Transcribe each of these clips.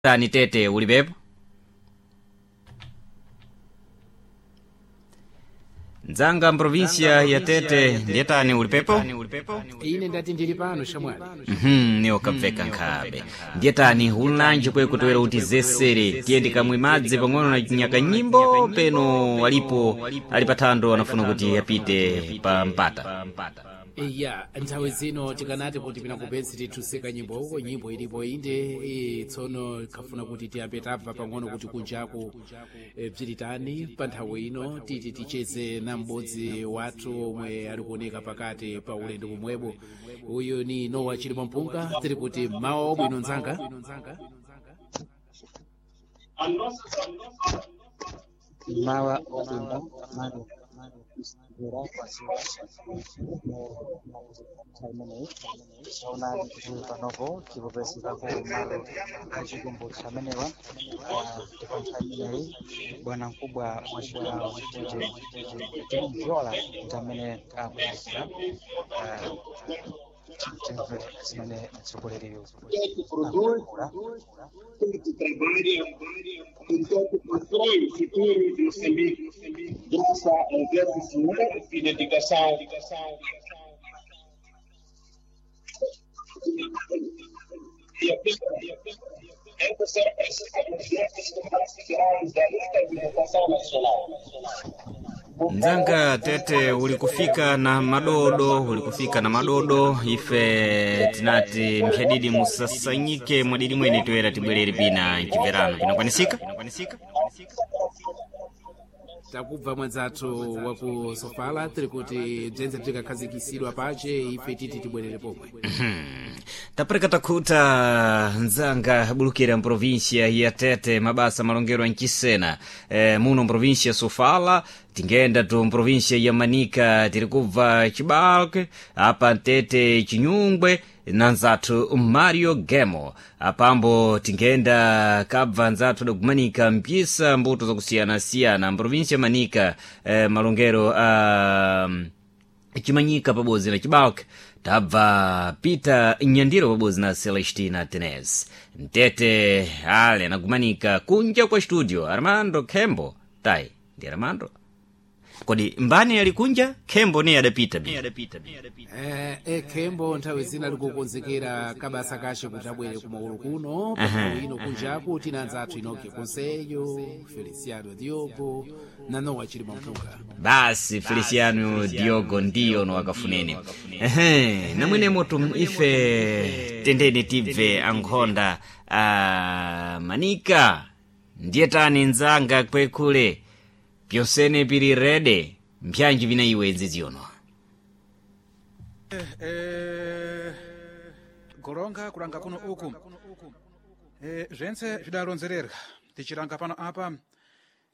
Tani Tete ulipepo? Nzanga mprovinsia ya Tete ndiyetani ulipepo? Ine ndati ndili pano shamwali. Niwo kabveka nkhabe. Ndiyetani ulanji kwekutowera kuti zesere tiyende kamwe madzi pang'ono na chinyaka nyimbo peno alipo ali pathando anafuna kuti apite pa mpata. Iya, nthawi zino tikanati kuti pinakupesi tithusika nyimbo uko nyimbo ilipo inde tsono khafuna kuti tiyambe tabva pang'ono kuti kunjaku bzilitani pa nthawi ino titi ticheze na m'bodzi wathu omwe ali kuoneka pakati pa ulendo pomwepo. Uyu ni Nowa Chilima Mpunga, tiri kuti mawa wabwino nzanga. Mawa wabwino mano vera imeneyi taonani kuti panopo tikupezekako malo achikumbutso amenewa ndipo nthawi imeneyi bwana mkubwa wa chigawo chitete timvyola ndi amene akuyakira timve zimene mtsogoleriyo akuyankhula. Que trabalha, portanto, constrói o futuro de Moçambique, graças ao verbo e dedicação. E a ser precisa dos nossos da luta de libertação nacional. Nzanga Tete ulikufika na madodo, ulikufika na madodo ife tinati mphadidi musasanyike mwadidi mwene toera tibwerere pina mchimverano pinakwanisika? Takubva mwanzathu waku Sofala, tiri kuti bzenze bzikakhazikisidwa pace ife titi tibwerere pomwe. Tapereka takhuta nzanga bulukira mprovinsia ya Tete mabasa malongero ancisena muno mprovinsia Sofala tingenda tu mprovinsia ya Manika tiri kubva Chibalke apa Tete Chinyungwe na nzathu Mario Gemo apambo tingenda kabva nzathu dakumanika mpisa mbuto zakusiyanasiyana mprovinsia Manika malongero a Chimanyika pabodzi na Chibalke tabva Peter Nyandiro pabodzi na Celestina Tenes Mtete ale anagumanika kunja kwa studio Armando Khembo tai ndi Armando kodi mbani ali kunja Khembo niye adapita bi Khembo nthawi zina likukonzekera kabasa kace kuti abwere kumaulu kuno panthawi ino kunjaku tina anzathu Inoki Conselho, Feliciano Diogo na Nowa Chilima Mpunga. Basi Feliciano Diogo ndiyo no akafuneni. Ehe, namwenemo tu ife tendeni tibve ankhonda a Manika ndiye tani nzanga kwekule pyonsene pili rede mpyanji vina iwe nziziyono. Goronga kulanga kuno uku zventse zvidalonzererwa tichilanga pano apa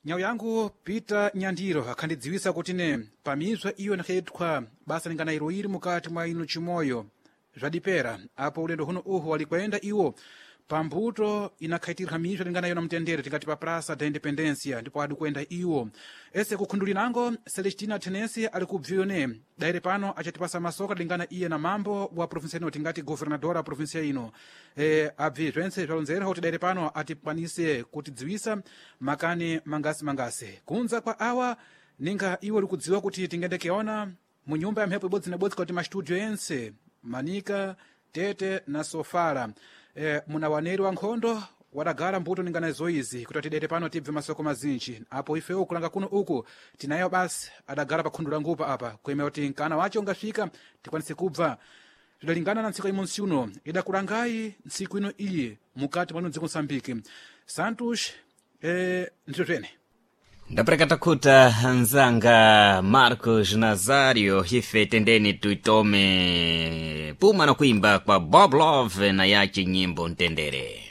nyau yangu Peter Nyandiro akhandidziwisa kuti ne pamizwa iyo inakhaitwa basa lingana ilo ili mukati mwa ino chimoyo zvadipera apo ulendo huno uhu walikwenda iwo pambuto inakhaitirwa mizwa lingana yona mtendere tingati pa Praça da Independência ndipo adikwenda iwo ese kukhundulinango Celestina Tenesi ali kubviyo ne daire pano achatipasa masoka lingana iye na mambo wa provinsia ino tingati governadora wa provinsia ino abvi zventse zvalonzera kuti daire pano atikwanise kutidziwisa makani mangasi mangasi kunza kwa awa ninga iwo likudziwa kuti tingendekeona mu nyumba ya mphepo ibodzi na ibodzi kuti mastudio ense Manika Tete na Sofala muna waneri wa nkhondo wadagala mbuto ningana izoizi kuti atidete pano tibve masoko mazinji apo ifewo kulanga kuno uku tinayo basi adagala pa khundu la ngupa apa kuyemera kuti mkana wacho ungafika tikwanise kubva zvidalingana na ntsiku imonsi uno idakulangayi ntsiku ino iyi mukati mwano dziko Msambiki Santos ndito twene. Ndapereka takhuta nzanga Marcos Nazario ife tendeni tuitome puma na kuimba kwa Bob Love na yache nyimbo Mtendere.